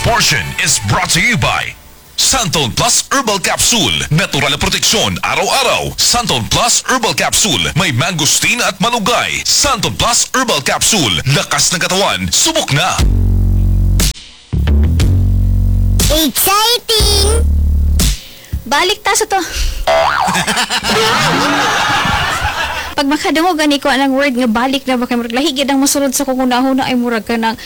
Portion is brought to you by Xanthone Plus Herbal Capsule. Natural na proteksyon araw-araw. Xanthone Plus Herbal Capsule. May mangosteen at malunggay. Xanthone Plus Herbal Capsule. Lakas ng katawan. Subok na. Exciting! Balik ta sa to. Pag makadungog gani ko anang word nga "balik" na ba, kay murag lahi gid ang mosulod sa kong hunahuna, ay murag ka ng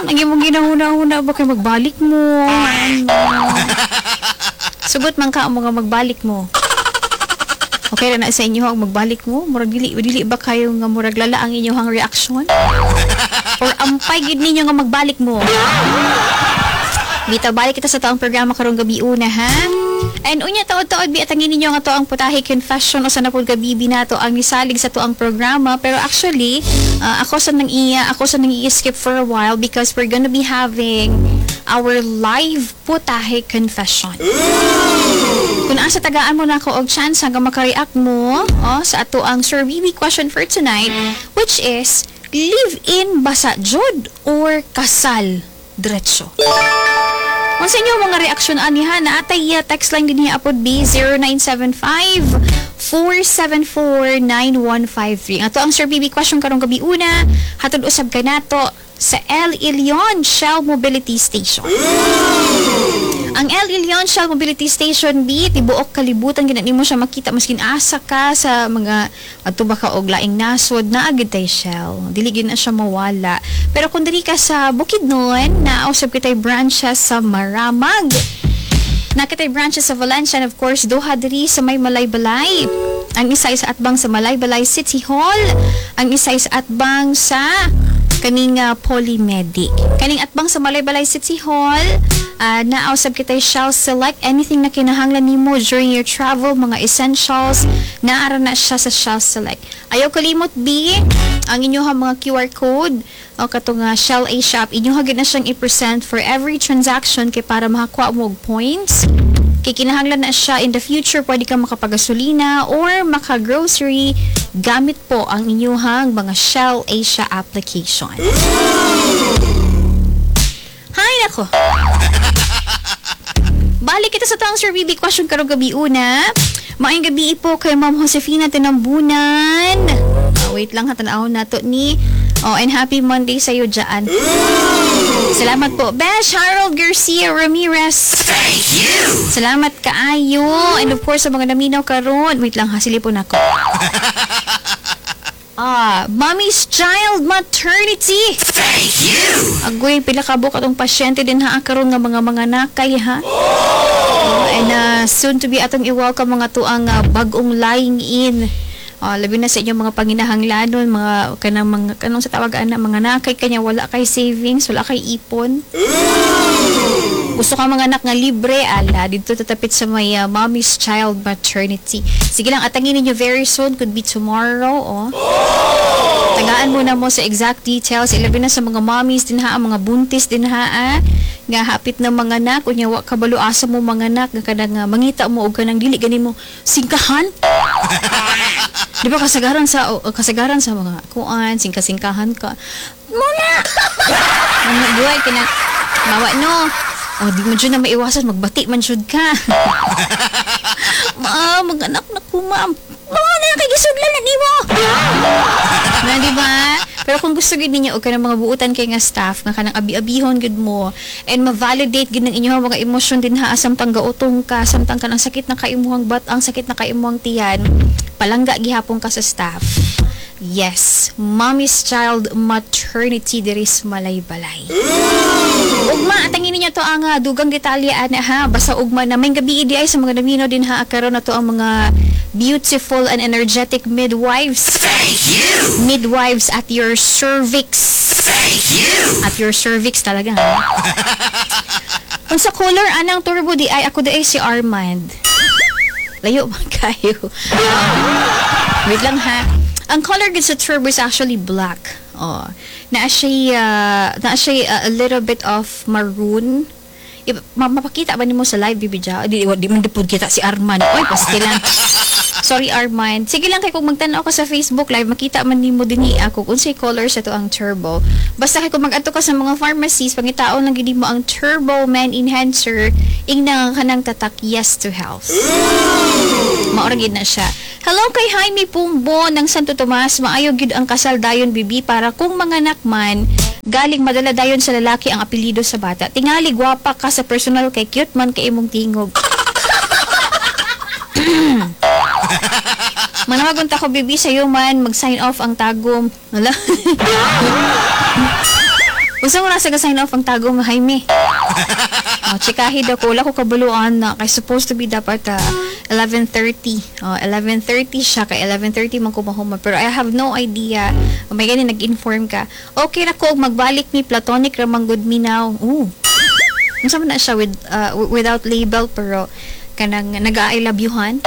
ang imong ginahuna-huna ba kay magbalik mo. Ano? Sugot man ka ang mga magbalik mo. Okay ra na sa inyo ang magbalik mo? Murag dili dili ba kayo nga murag lala ang inyong reaction? Or ampay gid ninyo nga magbalik mo? Bitaw, balik kita sa taong programa karong gabi una, ha? And unya, taod-taod bi, atangin ninyo nga to ang Putahe Confession o sa napud gabi nato ang nisalig sa tuang programa, pero actually ako sa nang i-skip for a while because we're gonna be having our live Putahe Confession. Kung asa tagaan mo na ako og chance hanggang makareact mo, oh, sa ato ang Sir BB question for tonight, which is live-in basa jud or kasal diretso. Kung sa inyo mga reaksyon ani ha, naatay text line din niya apod B 0975 474 9153. Ato ang Sir BB question karong gabi una, hatod usab kanato sa El Ilion Shell Mobility Station. Ang El Ilion Shell Mobility Station B, tibuok kalibutan gina nimo siya makita maskin asa ka sa mga adto ba ka og laing nasod, naa gid tay Shell. Dili gid na siya mawala. Pero kung diri ka sa Bukidnon, naa usab kitay branches sa Maramag. Naa kitay branches sa Valencia and of course duha diri sa may Malaybalay. Ang isa ay sa atbang sa Malaybalay City Hall, ang isa ay sa atbang sa kaning Polymedic. Kaning atbang sa Malaybalay City Hall, naa usab kitay Shell Select. Anything na kinahanglan nimo during your travel, mga essentials, naara na siya sa Shell Select. Ayaw kalimot B, ang inyong mga QR code o katong Shell A Shop, inyo gid na siyang i-present for every transaction kay para makakuha mo og points. Kay kinahanglan na siya in the future, pwede ka makapagasolina or maka-grocery gamit po ang inyuhang mga Shell Asia application. Hay nako. Balik kita sa tang Sir BB question karong gabi una. Maayong gabi po kay Ma'am Josefina Tinambunan. Ah, wait lang ha, tan-awon nato ni. Oh, and happy Monday sa iyo dyan. Salamat po. Besh Harold Garcia Ramirez. Thank you. Salamat kaayo. And of course, sa mga naminaw karon. Wait lang ha, silipon ako. Ah, Mommy's Child Maternity. Thank you. Agoy, pila ka buok atong pasyente din ha karon nga mga nakay ha. Oh, and soon to be atong i-welcome mga tuang bag-ong lying in. Oh, labi na sa inyong mga panginahanglanon, mga kanang mga kanong sa tawag ana, mga nakay kanya wala kay savings, wala kay ipon. Gusto ka mga anak nga libre, ala, dito tatapit sa may Mommy's Child Maternity. Sige lang, atangin ninyo very soon, could be tomorrow, oh. Tagaan muna mo sa exact details, ilabi na sa mga mommies din ha, ang mga buntis din ha, ah, nga hapit na mga anak, unya wa kabalo asa mo mga anak, nga kanang mangita mo og kanang dili gani mo singkahan. Di ba kasagaran sa mga kuan, singka-singkahan ka. Muna! Mga buhay ka na, mawa no. O, di mo dyan na maiwasan, magbati man jud ka. Ma, mag-anak na ko, ma'am. Mao na kay gisudlan na nimo. Na, di ba? Pero kung gusto gid ninyo og kanang mga buutan kay nga staff nga kanang abi-abihon gid mo and ma-validate gid ng inyong mga emosyon din ha samtang gautong ka, samtang kanang sakit na kaimuhang bat, ang sakit na kaimuhang tiyan, palangga gihapon ka sa staff. Yes, Mommy's Child Maternity diri sa Malaybalay. Ugma, atangin ninyo to ang dugang detalye ana ha. Basta ugma na may gabi di ay sa mga namino din ha karon na to ang mga beautiful and energetic midwives. Thank you. Midwives at your cervix. Thank you. At your cervix talaga ha. Unsa color anang turbo di ay? Ako di ay si Armand. Layo man kayo. Wait lang ha. Ang color gid sa turbo is actually black. Oh. Naa siya a little bit of maroon. Mapakita ba nimo sa live, Bibi Ja? Di man di pud kita si Arman. Oy, pastilan. Sorry, Armand. Sige lang kay kung magtan-aw ka sa Facebook Live, makita man nimo dinhi ako kung unsay color sa atoang Turbo. Basta kay kung mag-adto ka sa mga pharmacies, pangitaon lang gid mo ang Turbo Man Enhancer, ingna nga kanang tatak "Yes to Health." Mao ra gid na siya. Hello kay Jaime Pumbo ng Santo Tomas. Maayo gid ang kasal dayon, bibi, para kung manganak man, galing madala dayon sa lalaki ang apelyido sa bata. Tingali gwapa ka sa personal kay cute man kay imong tingog. Manawagon ta ko, bibi, sa man mag-sign off ang Tagum. Wala. Unsa mo nasa sign off ang Tagum, Jaime? Oh, chikahi daw ko. Wala ko kabaluan na kay supposed to be dapat 11:30. Oh, 11:30 siya kay 11:30 man ko mahuma. Pero I have no idea. May gani nag-inform ka. Okay ra ko og magbalik ni platonic ra man gud mi now. Ooh. Unsa man na siya with without label pero kanang nag-I love you-han?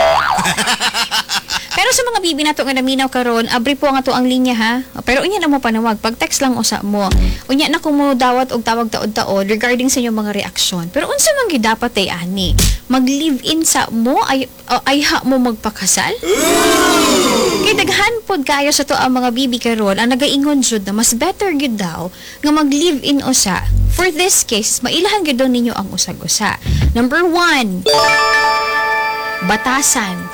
Pero sa mga bibi nato nga naminaw karon, abri po ang ato ang linya ha. Pero unya na mo panawag, pag text lang usa mo. Unya na ko mo dawat og tawag taod-taod regarding sa inyong mga reaksyon. Pero unsa man gyud dapat ay ani? Mag-live-in sa mo ay ay ha mo magpakasal? Kay daghan pod kayo sa to ang mga bibi karon ang nagaingon jud na mas better gyud daw nga mag-live-in usa. For this case, mailahan gyud daw ninyo ang usag-usa. Number 1, batasan.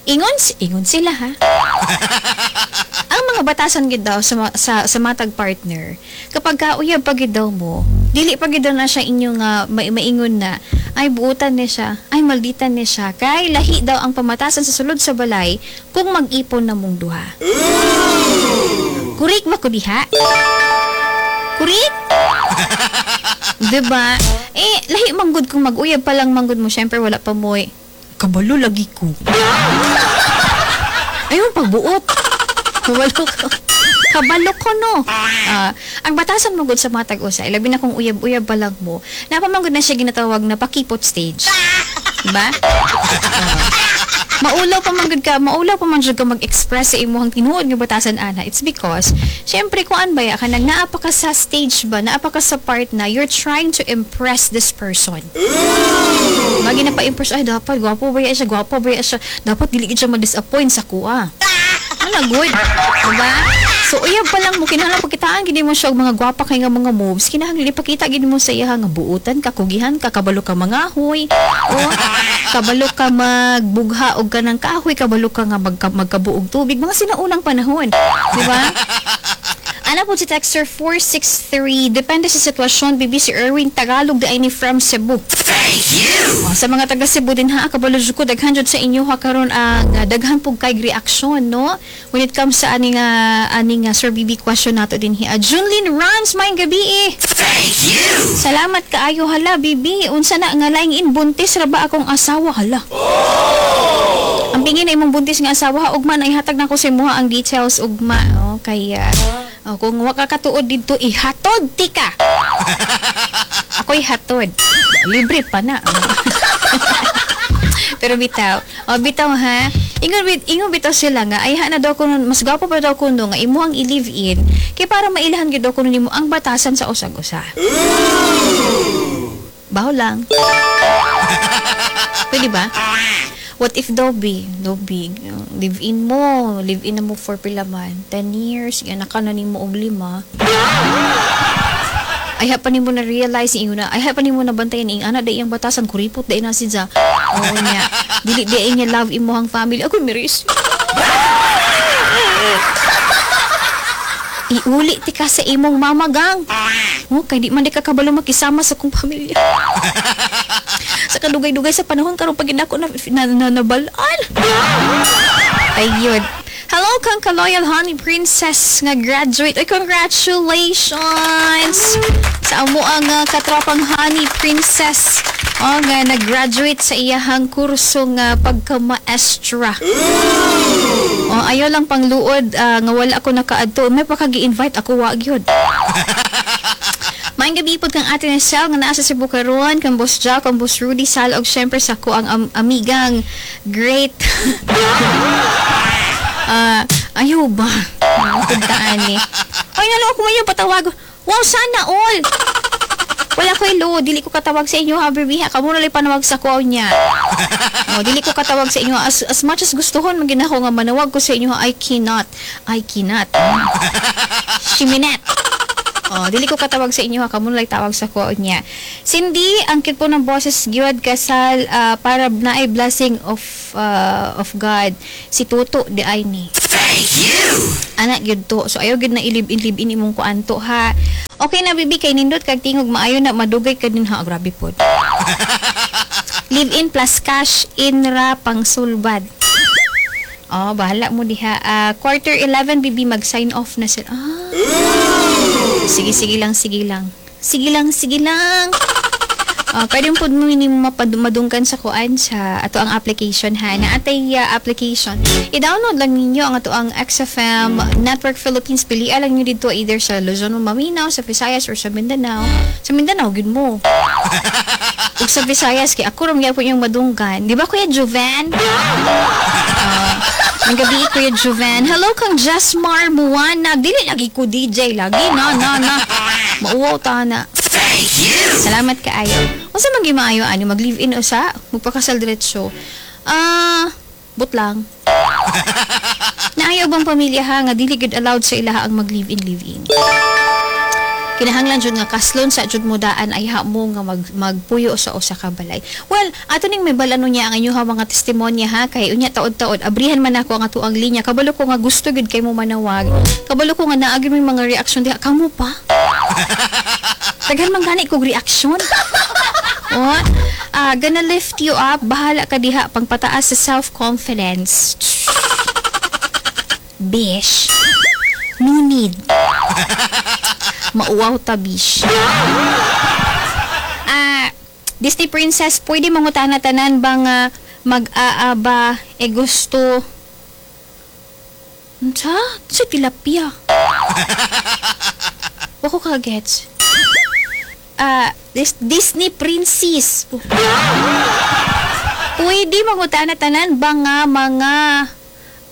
Ingon sila ha. Ang mga batasan gid daw sa matag partner, kapag kauyab pa gid daw mo, dili pa gid daw na siya inyong maingon na ay buutan ni siya, ay malditan ni siya, kay lahi daw ang pamatasan sa sulod sa balay kung mag-ipon na mong duha. Kurik ba ko diha? Kurik? Diba? Eh, lahi manggod kung mag-uyab pa lang manggod mo, syempre wala pa mo'y kabalo lagi ko. Ayun, pagbuot. Kabalo ko. Kabalo ko, no? Ah, ang batasan mo gud sa matag usa, labi na kung uyab-uyab pa lang mo, napamangod na siya ginatawag na pakipot stage. Diba? Ah. Maulaw pa man gud ka, maulaw pa man jud ka mag-express sa imuhang tinuod nga batasan ana. It's because syempre kuan ba ya kanang naa pa ka sa stage ba, naa pa ka sa part na you're trying to impress this person. Magi na pa-impress, ay dapat gwapo ba ya siya, gwapo ba ya siya, dapat dili gid siya ma-disappoint sa kuha. Ano good? Diba? So uyab pa lang mo, kinahanglan pakitaan gid mo siya og mga gwapa kay nga mga moves. Kinahanglan ipakita gid mo sa iya nga buutan ka, kugihan ka, kabalo ka mangahoy. O kabalo ka magbugha og kanang kahoy, kabalo ka nga magkabuog tubig, mga sinaunang panahon. Di ba? Ana po si texter 463, depende sa sitwasyon, bibi. Si Erwin Tagalog di ay ni from Cebu. Thank you! Oh, sa mga taga Cebu din ha, kabalo jud ko daghan jud sa inyo ha karon ang daghan pug kay reaksyon, no? When it comes sa ani nga Sir BB question nato din hi. Junlin Runs, maayong gabi eh. Thank you! Salamat kaayo. Hala, bibi, unsa na nga lying in, buntis ra ba akong asawa, hala? Ang pingin na imong buntis nga asawa ha, ugma na ihatag na ko sa imuha ang details ugma, oh, kay oh, kung wa ka katuod didto, ihatod tika. Ako'y hatod. Libre pa na. Pero bitaw, oh, bitaw ha. Ingon bitaw sila nga ay na daw kuno mas gwapo pa daw kuno nga imo ang i-live in kay para mailahan gyud daw kuno nimo ang batasan sa usag-usa. Baho lang. Pwede ba? What if daw be, live in mo, live in na mo for pila man, 10 years, yan ka na nimo og lima. Ay pa nimo na realize ingon na, ay pa nimo na bantayan ing ana dai iyang batasan, kuripot dai na siya. Oo niya. Dili di niya love imuhang family. Ako miris. Iuli ti ka sa imong mama gang. Oh, kay di man di ka kabalo makisama sa kong pamilya. Sa kadugay-dugay sa panahon karon pag ako na nabalaan. Ayun. Hello kang ka-loyal Honey Princess nga graduate. Ay, congratulations! Sa amo ang katropang Honey Princess. Oh, nga nag-graduate sa iyahang kurso nga pagka-maestra. Oh, ayaw lang pangluod nga wala ako nakaadto. May pakagi-invite ako wa gyud. Maayong gabi pod kang Ate Nesel nga naa sa Cebu karon, kang Boss Jack, kang Boss Rudy Sal og syempre sa ko ang amigang great. Ayaw ba? Puntaan ni. Ay, nalo ako mayo patawag. Wow, sana all. Wala ko ilo, dili ko katawag sa inyo ha, baby ha. Kamo na lang panawag sa ko niya. Oh, dili ko katawag sa inyo as much as gustuhon man gid nako nga manawag ko sa inyo, I cannot. I cannot. Shiminet. Oh, dili ko katawag sa inyo ha, kamo na lang tawag sa ko niya. Cindy, ang cute po ng boses gyud, kasal para naay blessing of God. Si Tuto di ay ni. Anak gyud to. So ayaw gyud na ilib-in imong kuan to ha. Okay na, bibi, kay nindot kag tingog, maayo na madugay ka din ha. Grabe pod. Live in plus cash in ra pang sulbad. Oh, bahala mo diha. Ah, 10:45, bibi, mag-sign off na sila. Ah. Sige, sige lang, sige lang. Sige lang, sige lang. Ah, pwede mo po ni madunggan sa kuan sa ato ang application ha. Na atay application. I-download lang ninyo ang ato ang XFM Network Philippines. Pilian lang niyo dito either sa Luzon o Maminaw, sa Visayas or sa Mindanao. Sa Mindanao gud mo. Ug sa Visayas kay ako ra gyapon yung madunggan. Di ba, Kuya Joven? Ah, ang gabi, Kuya Joven. Hello kang Jasmar Muwanag. Dili lagi ko DJ lagi na na na. Mauwaw ta na. Salamat kaayo. Unsa man gyud maayo ani, mag live-in usa, magpakasal diretso? Ah, but lang. Naayo bang pamilya ha nga dili gud allowed sa ilaha ang mag live-in live-in. Kinahanglan jud nga kaslon sa jud mo daan ay ha mo nga magpuyo sa usa ka balay. Well, ato ning may balano niya ang inyong mga testimonya ha, kay unya taod-taod abrihan man ako ang atuang linya. Kabalo ko nga gusto gud kay mo manawag. Kabalo ko nga naa gyud may mga reaksyon diha kamo pa. Daghan man gani kog reaksyon. Oh, gonna lift you up. Bahala ka diha pangpataas sa self-confidence. Bish. No need. Mauwaw ta, bish. Ah, Disney Princess, pwede mangutana tanan ba nga mag-aaba e gusto? Unsa? Sa tilapia. Wa ko ka-gets. Ah, this Disney Princess. Pwede mangutana tanan ba nga mga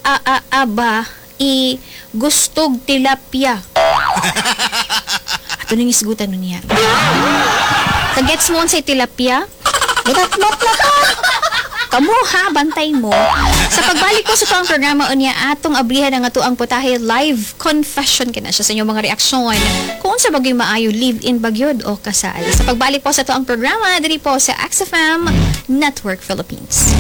aaba i gustog tilapia? Ato nang isgutan nun niya. Kagets mo sa tilapia? Mutat-mot na to. Kamo ha, bantay mo. Sa pagbalik ko sa tuang programa unya, atong abrihan ang ato ang putahe live confession kina siya sa inyong mga reaksyon. Kung unsa bagay maayo, live-in bagyod o kasal. Sa pagbalik po sa tuang programa diri po sa XFM Network Philippines.